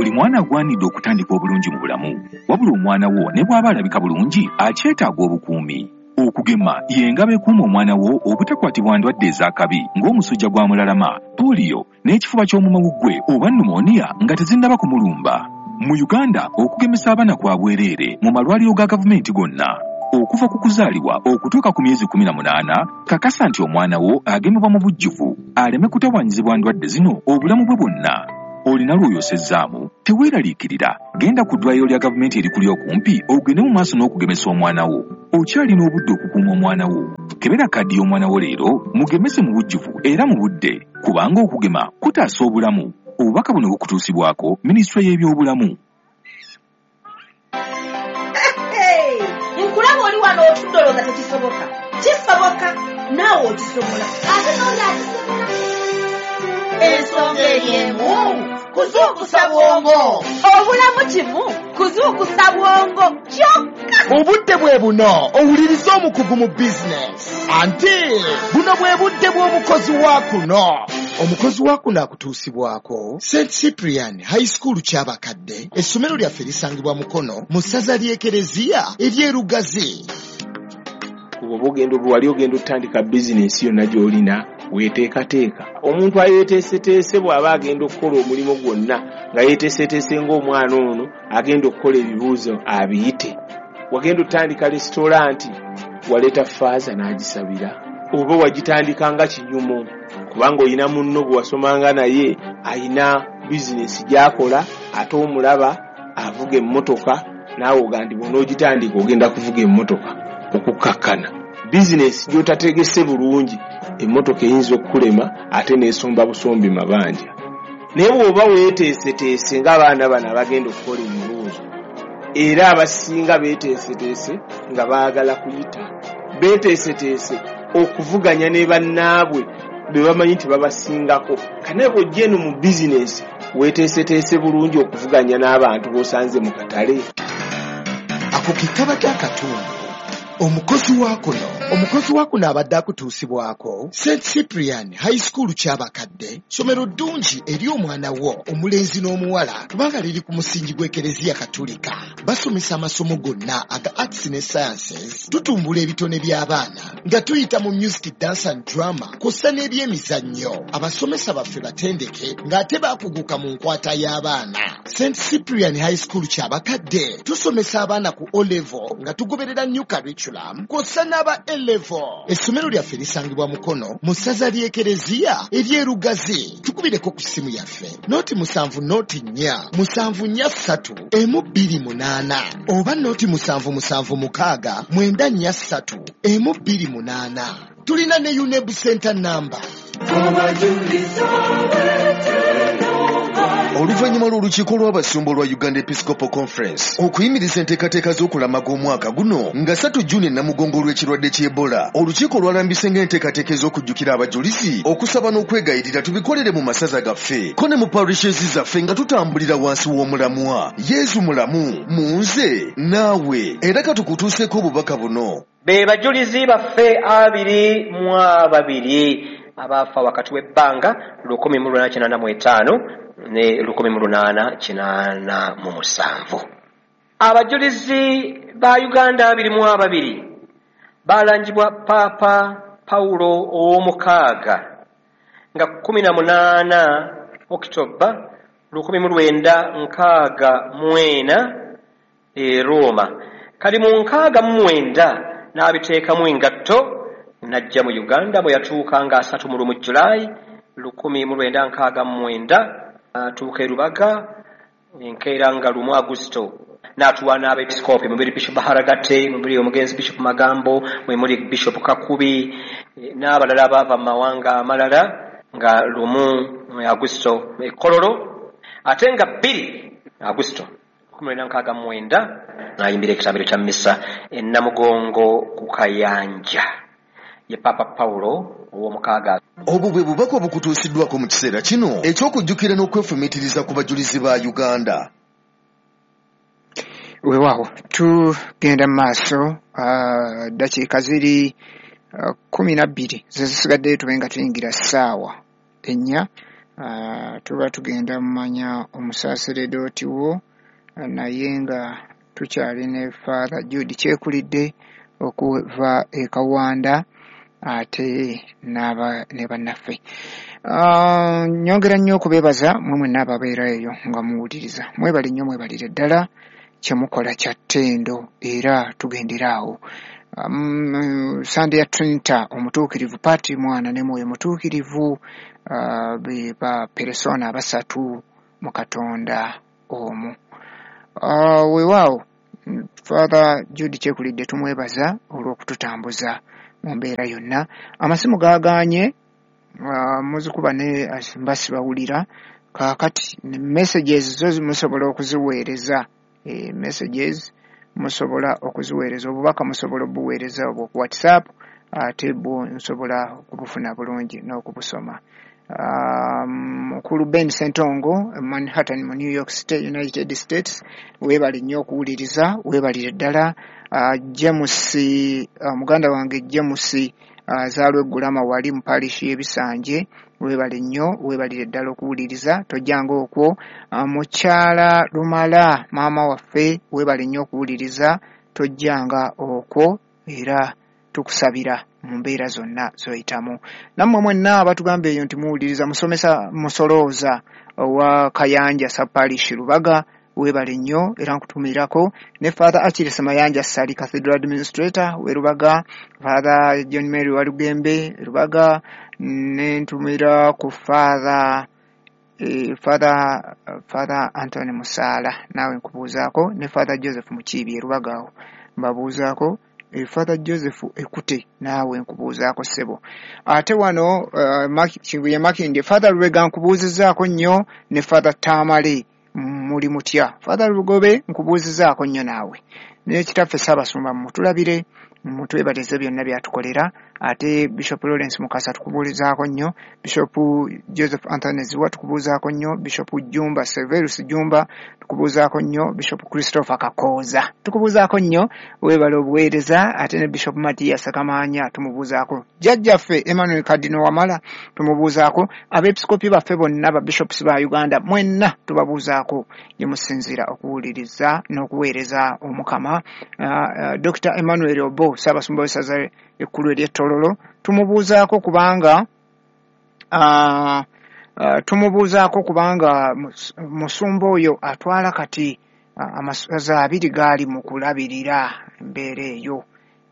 Buli mwana agwanidde okutandika obulungi mu bulamu. Wabula omwana wo ne bw'aba alabika bulungi, akyetaaga obukuumi. Okugema ye ngabo ekuuma omwana wo obutakwatibwa ndwadde ez'akabi ng'omusujja gwa mulalama, pooliyo, n'ekifuba ky'omumawuggwe oba pneumonia nga tezinnaba kumulumba. Mu Uganda, okugemesa abaana kwa bwereere mu malwaliro ga gavumenti gonna. Okuva ku kuzaalibwa okutuuka ku myezi 18, kakasa nti omwana wo agemebwa mu bujjuvu aleme kutawaanyizibwa ndwadde zino obulamu bwe bwonna. Olina lw'oyosezzaamu? Teweeraliikirira. Genda ku ddwaliro lya gavumenti erikuli okumpi ogende mu maaso n'okugemesa omwana wo. Okyalina obudde okukuuma omwana wo. Kebera kaadi y'omwana wo leero, mugemese mu bujjuvu era mu budde, kubanga okugema kutaasa obulamu. Obubaka buno bukutuusibwako Minisitule y'Ebyobulamu. Nkulaba oli wano otudde olowooza tekisoboka. Kisoboka, naawe okisobola, ate n'oli akisobola. Ensonga eri emu, kuzuukusa bwongo. Obulamu kimu, kuzuukusa bwongo kyokka. Obudde bwe buno owulirize omukugu mu bizinesi. Anti buno bwe budde bw'omukozi wa kuno. Omukozi wa kuno akutuusibwako St Cyprian High School Kyabakadde. Essomero lyaffe lisangibwa Mukono mu ssaza ly'Ekereziya ery'e Lugazi. Bw'oba ogenda wali ogenda otandika bizinensi yonna gy'olina, weeteekateeka. Omuntu ayeeteeseteese bw'aba agenda okukola omulimu gwonna nga yeeteeseteese ng'omwana ono agenda okukola ebibuuzo abiyite. Wagenda otandika lesitolanti, waleeta faaza n'agisabira, oba wagitandika nga kinyumo kubanga olina munno gwe wasomanga naye alina bizinensi gy'akola ate omulaba avuga emmotoka, naawe ogamba nti bw'onoogitandika ogenda kuvuga emmotoka okukkakkana. Bizinensi gy'otategese bulungi, emmotoka eyinza okukulema ate n'esomba busombi mabanja. Naye bw'oba weeteeseteese ng'abaana bano abagenda okukola ebibuuzo, era abasinga beeteeseteese nga baagala kuyita, beeteeseteese okuvuganya ne bannaabwe be bamanyi nti babasingako. Kane bw'ojja eno mu bizinensi weeteeseteese bulungi okuvuganya n'abantu b'osanze mu katale. Ako ke kabadde akatundu. Omukozi wa kuno. Omukozi wa kuno abadde akutuusibwako St Cyprian High School Kyabakadde, ssomero ddungi eri omwana wo omulenzi n'omuwala kubanga liri ku musingi gw'Ekereziya Katulika. Basomesa amasomo gonna aga arts ne sciences, tutumbula ebitone by'abaana nga tuyita mu music, dance and drama kw'ossa n'ebyemizannyo. Abasomesa baffe batendeke ng'ate baakuguka mu nkwata y'abaana. St Cyprian High School Kyabakadde tusomesa abaana ku O level nga tugoberera new curriculum kw'ossa n'aba A level. Essomero lyaffe lisangibwa Mukono mu ssaza ly'Ekereziya ery'e Lugazi. Tukubireko ku ssimu yaffe 0 7 0 4 7 4 3 1 2 8 oba 0 7 7 6 9 4 3 1 2 8. Tulina ne UNEB Center number. Oluvannyuma lw'olukiiko lw'abasumba olwa Uganda Episcopal Conference okuyimiriza enteekateeka z'okulamaga omwaka guno nga 3 Juni e Namugongo olw'ekirwadde ky'Ebola, olukiiko lwalambise ng'enteekateeka ez'okujjukira abajulizi, okusaba n'okwegayirira tubikolere mu masaza gaffe ko ne mu parishes zaffe nga tutambulira wansi w'omulamwa Yezu mulamu mu nze naawe. Era katukutuuseeko obubaka buno. Be bajulizi baffe 22 abaafa wakati w'ebbanga 1885 ne 1887. Abajulizi ba Uganda 22 balangibwa Paapa Pawulo ow'omukaaga nga 18 Okitoba 1964 e Roma. Kali mu 69 n'abiteekamu engatto n'ajja mu Uganda bwe yatuuka nga 31 Julayi 1969, atuuka e Rubaga enkeera nga 1 Agusito n'atuwa n'abepisikoopi mubiri Bishop Haragate, mubiri omugenzi Bishop Magambo, mwe muli Bishop Kakubi n'abalala abaava mu mawanga amalala nga 1 Agusito e Kololo, ate nga 2 Agusito 1969 n'ayimbira ekitambiro kya missa e Namugongo ku Kayanja. Ye Papa Pawulo ow'omukaaga. Obwo bwe bubaka obukutuusiddwako mu kiseera kino eky'okujjukira n'okwefumiitiriza ku bajulizi ba Uganda. Weewaawo, tugenda mu maaso, ddakiika ziri 12 ze zisigaddeyo tube nga tuyingira ssaawa 4. Tuba tugenda mumanya omusaaseredooti wo, naye nga tukyali ne Father Jude Kyekulidde okuva e Kawanda ate ne bannaffe. Nyongera nnyo okubeebaza mmwe mwenna ababeera eyo nga muwuliriza. Mwebale nnyo, mwebalire ddala, kye mukola kya ttendo era tugendera awo. Sande ya Trinita omutuukirivu, Patri, Mwana ne Mwoyo Mutuukirivu, be ba peresona abasatu mu Katonda omu. Weewaawo Father Jude Kyekulidde tumwebaza olw'okututambuza mu mbeera yonna. Amasimu gaagaanye, muzikuba ne mba sibawulira. Kaakati messages zo musobola okuziweereza, messages musobola okuziweereza, obubaka musobola obuweereza obwo ku WhatsApp, ate bwo nsobola okubufuna bulungi n'okubusoma. Mukulu Ben Sentongo, Manhattan mu New York State, United States, weebale nnyo okuwuliriza, weebalire ddala. James, muganda wange James azaalwa Eggulama wali mu parish y'Ebisanje, weebale nnyo, weebalire ddala okuwuliriza, tojjanga okwo. Mukyala Lumala, maama waffe, weebale nnyo okuwuliriza, tojjanga okwo, era tukusabira mu mbeera zonna z'oyitamu. Nammwe mwenna abatugamba eyo nti muwuliriza, musomesa musolooza owa Kayanja Sub-Parish Lubaga, weebale nnyo era nkutumirako. Ne Father Achilles Mayanja Ssali, Cathedral Administrator w'e Lubaga, Father John Mary Walugembe Lubaga, ne ntumira ku Father Father Anthony Musaala, naawe nkubuuzaako, ne Father Joseph Mukiibi e Lubaga awo mbabuuzaako. Father Joseph Ekute, naawe nkubuuzaako ssebo. Ate wano Kibuye Makindye, Father Lubega nkubuuzizaako nnyo, ne Father Tamale muli mutya. Father Lugobe nkubuuzizaako nnyo naawe. Ne kitaffe Ssaabasumba mutulabire, mutwebalize byonna byatukolera. Ate Bishop Lawrence Mukasa tukubuulizaako nnyo, Bishop Joseph Anthony Ziwa tukubuuzaako nnyo, Bishop Jumba Severus Jumba tukubuuzaako nnyo, Bishop Christopher Kakooza tukubuuzaako nnyo, weebale obuweereza. Ate ne Bishop Matias Kamaanya tumubuuzaako, jjajjaffe Emmanuel Cardinal Wamala tumubuuzaako, abeepiskopi baffe bonna ba bishops ba Uganda mwenna tubabuuzaako gye musinziira okuwuliriza n'okuweereza Omukama. Dr. Emmanuel Obo, Ssaabasumba w'essaza ekkulu ery'e Tororo, tumubuuzaako kubanga musumba oyo atwala kati amasaza abiri gaali mu kulabirira embeera eyo,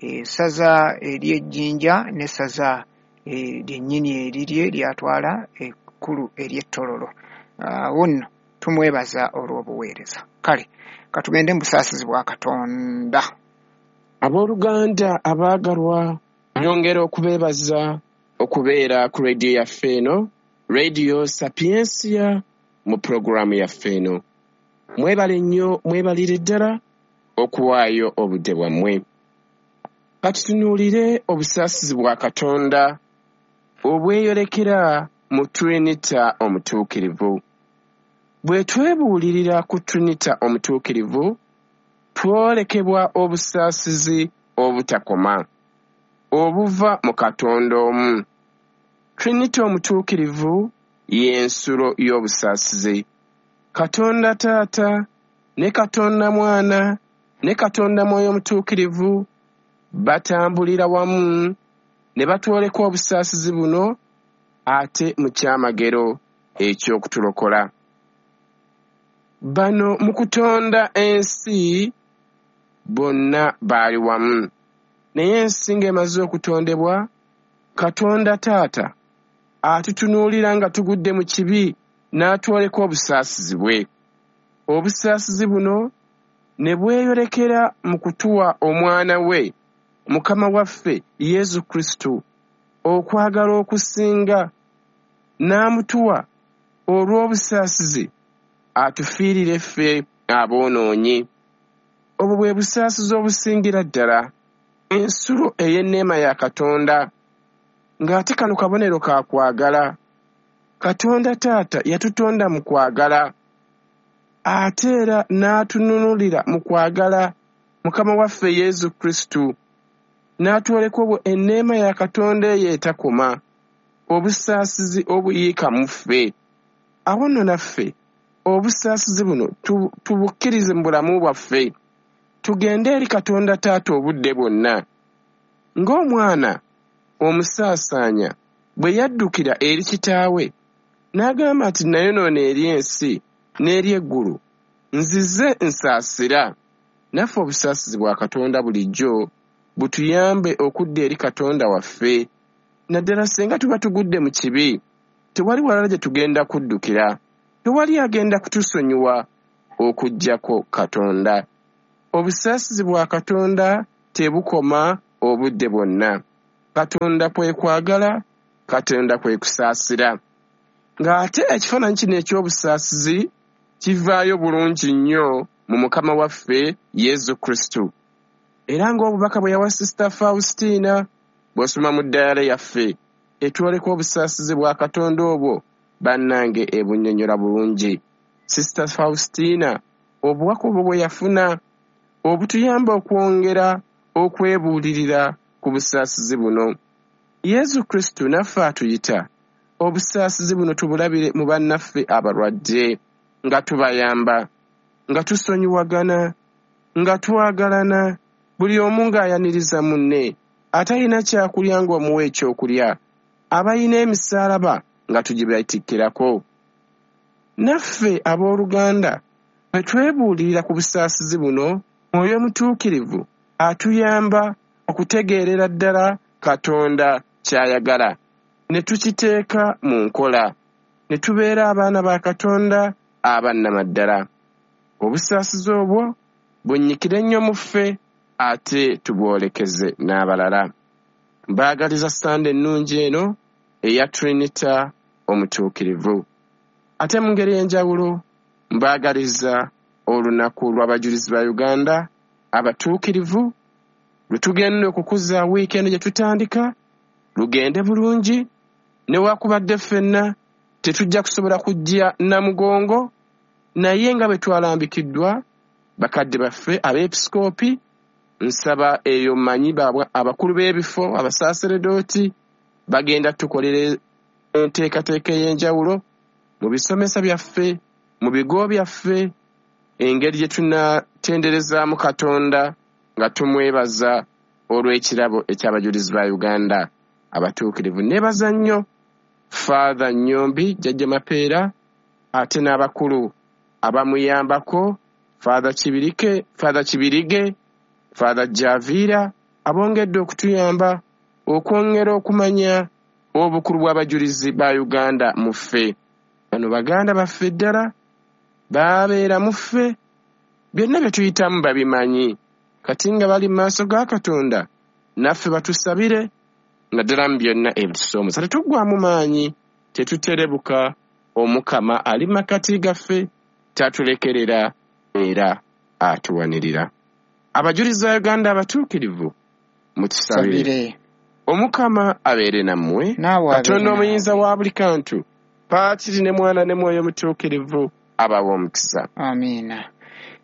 essaza ery'Ejjinja n'essaza lyennyini erirye lyatwala ekkulu ery'e Tororo. Awo nno tumwebaza olw'obuweereza. Kale katugende mu busaasizi bwa Katonda. Abooluganda abaagalwa, nyongera okubeebaza okubeera ku rediyo yaffe eno, Radio Sapientia, mu pulogulaamu yaffe eno. Mwebale nnyo, mwebalire ddala okuwaayo obudde bwammwe. Katutunuulire obusaasizi bwa Katonda obweyolekera mu Trinita Omutuukirivu. Bwe twebuulirira ku Trinita Omutuukirivu, twolekebwa obusaasizi obutakoma obuva mu Katonda omu. Trinita Omutuukirivu y'ensulo y'obusaasizi. Katonda Taata ne Katonda Mwana ne Katonda Mwoyo Omutuukirivu batambulira wamu ne batwoleka obusaasizi buno ate mu kyamagero eky'okutulokola. Bano mu kutonda ensi bonna baali wamu, naye ensi ng'emaze okutondebwa, Katonda Taata atutunuulira nga tugudde mu kibi n'atwoleka obusaasizi bwe. Obusaasizi buno ne bweyolekera mu kutuwa Omwana we, Mukama waffe Yesu Kristo, okwagala okusinga, n'amutuwa olw'obusaasizi atufiirire ffe aboonoonyi. Obwo bwe busaasizi obusingira ddala, ensulo ey'enneema ya Katonda, ng'ate kano kabonero ka kwagala. Katonda Taata yatutonda mu kwagala, ate era n'atununulira mu kwagala Mukama waffe Yesu Kristo, n'atwoleka obwo enneema ya Katonda eyo etakoma, obusaasizi obuyiika mu ffe. Awo nno naffe obusaasizi buno tubukkirize mu bulamu bwaffe, tugende eri Katonda Taata obudde bwonna. Ng'omwana omusaasaanya bwe yaddukira eri kitaawe n'agamba nti nayonoona eri ensi n'eri eggulu, nzize nsaasira. Naffe obusaasizi bwa Katonda bulijjo butuyambe okudda eri Katonda waffe, naddala singa tuba tugudde mu kibi. Tewali walala gye tugenda kuddukira, tewali agenda kutusonyiwa okuggyako Katonda. Obusaasizi bwa Katonda tebukoma obudde bwonna. Katonda kwe kwagala, Katonda kwe kusaasira. Ng'ate ekifaananyi kino eky'obusaasizi kivaayo bulungi nnyo mu Mukama waffe Yesu Kristo. Era ng'obubaka bwe yawa Sisita Faustina, bw'osoma mu dayale yaffe etwoleka obusaasizi bwa Katonda obwo, bannange ebunnyonnyola bulungi. Sisita Faustina obubaka obwo bwe yafuna obutuyamba okwongera okwebuulirira ku busaasizi buno. Yesu Kristo naffe atuyita obusaasizi buno tubulabire mu bannaffe abalwadde, nga tubayamba, nga tusonyiwagana, nga twagalana, buli omu ng'ayaniriza munne, atalina kyakulya ng'omuwa ekyokulya, abalina emisaalaba nga tugibatikkirako. Naffe abooluganda bwe twebuulirira ku busaasizi buno, Mwoyo Mutuukirivu atuyamba okutegeerera ddala Katonda ky'ayagala, ne tukiteeka mu nkola, ne tubeera abaana ba Katonda abannamaddala. Obusaasizi obwo bunnyikire nnyo mu ffe, ate tubwolekeze n'abalala. Mbaagaliza Sande ennungi eno eya Trinita Omutuukirivu. Ate mu ngeri ey'enjawulo mbaagaliza olunaku lw'abajulizi ba Uganda abatuukirivu lwe tugenda okukuza wiiki eno gye tutandika, lugende bulungi. Newaakubadde ffenna tetujja kusobola kujja Namugongo, naye nga bwe twalambikiddwa bakadde baffe abeepisikoopi, nsaba eyo mmanyi abakulu b'ebifo abasaaseredooti bagenda tukolera enteekateeka ey'enjawulo mu bisomesa byaffe, mu bigo byaffe, engeri gye tunatenderezaamu Katonda nga tumwebaza olw'ekirabo eky'abajulizi ba Uganda abatuukirivu. Neebaza nnyo Father Nnyombi Jjajja Mapeera, ate n'abakulu abamuyambako, Father Kibirike, Father Kibirige, Father Javiira, abongedde okutuyamba okwongera okumanya obukulu bw'abajulizi ba Uganda mu ffe. Bano baganda baffe ddala babeera mu ffe, byonna bye tuyitamu babimanyi. Kati nga bali mu maaso ga Katonda, naffe batusabire naddala mu byonna ebitusoomooza. Tetuggwaamu maanyi, tetuterebuka, Omukama ali makati gaffe, tatulekerera era atuwanirira. Abajulizi ba Uganda abatuukirivu, mutusabire. Omukama abeere nammwe, Katonda omuyinza wa buli kantu, Paatiri ne Mwana ne Mwoyo Mutuukirivu, abawe omukisa. Amiina.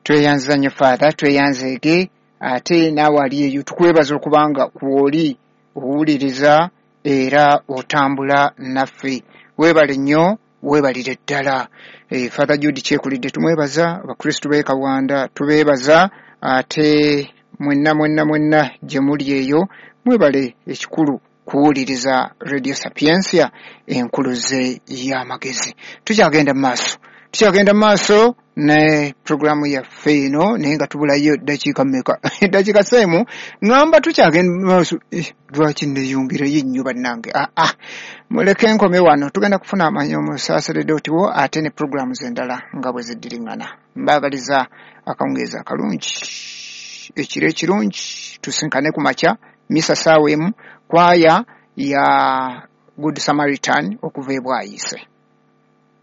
Tweyanza nnyo Father, tweyanzeege, ate naawe ali eyo tukwebaza okubanga kw'oli owuliriza era otambula naffe. Weebale nnyo, weebalire ddala. Father Jude Kyekulidde tumwebaza, Abakristu b'e Kawanda tubeebaza, ate mwenna mwenna mwenna gye muli eyo mwebale ekikulu kuwuliriza Radio Sapientia enkuluze y'amagezi. Tukyagenda mu maaso ne programu yaffe eno, naye nga tubulayo ddakiika mmeka? Ddakiika seemu ŋŋamba tukyagenda mu maaso. Lwaki neeyongereyo nnyo bannange? Muleke nkome wano, tugenda kufuna amanyi omusaaseredooti wo ate ne programu endala nga bwe ziddiriŋŋana. Mbaagaliza akawungeezi akalungi, ekiro ekirungi, tusinkane ku makya misa ssaawa emu, kwaya ya Good Samaritan okuva e Bwayiise.